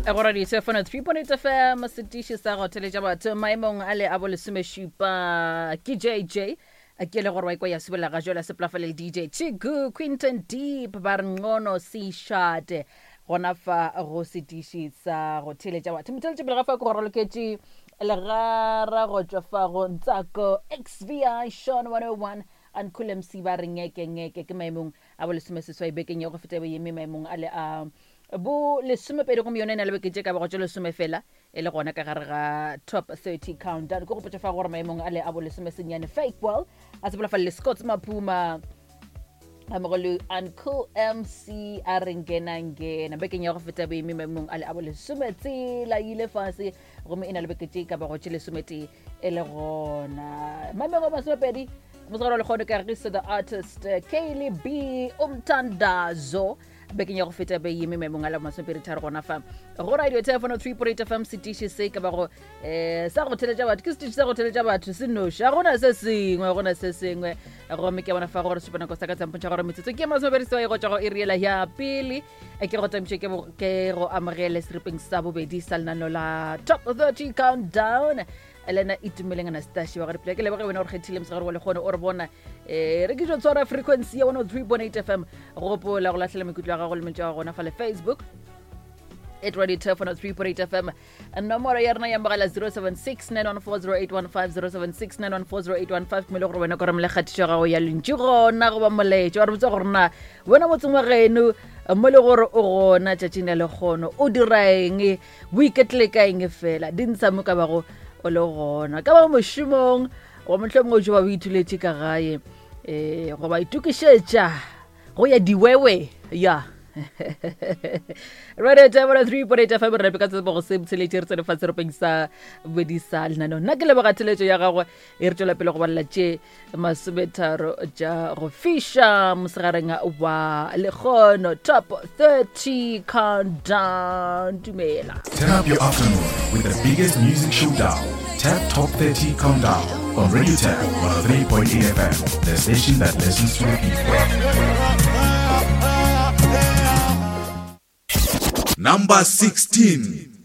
Go radio 3.8 FM setiši sa go theletša batho maemong a le a bolesomešupa ke JJ ke le gore wa ikwa ya subela ga jwale sepolafale le DJ Chigu Quinton Deep ba re ncono seshate gona fa go setiši sa go theletša batho motheletši pele ga fa ke go raloketše legara go tšwa fa go Ntsako XVI Sean 101 Uncle MC ba re ngeke ngeke ke maemong a bolesomeseswai bekeng ya go feta be eme maemong a le a bo lesomepedi gomme yone e na le beke tše ka bago tše lesome fela e le gona ka gare ga top 30 countdown ke gopotša fa gore maemong a le a bolesomesenyane fake well a sepela fa le scott maphuma a mogo le uncle mc a re ngenangena bekeng ya go feta boeme maemong a le a bolesome tsela ile fase gomme e na le beke tše ka bago tše lesometee e le gona maemong a masomepedi mosegare wa lekgono ka register the artist kaylee b umtandazo bekeng ya go feta be yeme maemong a la masomepedi tharo gona fa go radio telefono 3.8 fm setiši se ka bago um sa go theletša batho ke setiši sa go theletša batho se noši ga gona se sengwe gona se sengwe gomme ke bona fa gore supanako sa ka tsampontšha gore metsotso ke masomepedi sewai go tšwa go eriela ya pele ke go tamiše ke go amogele seripeng sa bobedi sa lenano la top 30 countdown le ena itumeleng anastasia wa gore ke leboge wena gore kgethile mosegare wa lekgone o re bona um re ke tlo tshwara frequency ya 103.8 fm gopola go lahlela maikutlo a gago le mentšo ya gona fa le facebook at radio turf 103.8 fm nomoro ya rena ya mogala 076 9140815 076 9140815 ke mele gore wena ko romele kgatišo ya gago ya lentšu gona goba molaetšo wa re botsa gore na wena motseng wa geno mo le gore o gona tšatšing la lekgono o dira eng bo iketlile ka eng fela di ntsha mo ka bago o le gona ka ba mošomong goba mohlomongwe o tšoba o ithuletše ka gae um goba itokišetša go ya diwewe ya radio tabora 3.8 fm re rape ka tsebo go se botsheletše re tsene fa seropeng sa bobedi sa lenaneo nna ke leboga theletšo ya gagwe e re tšwela pele go balela tše masometharo tša go fiša mosegareng wa lekgono top 30 countdown dumela Turn up your afternoon with the biggest music showdown. Tap Top 30 Countdown on Radio Tap 103.8 FM, the station that listens to the people. Number 16.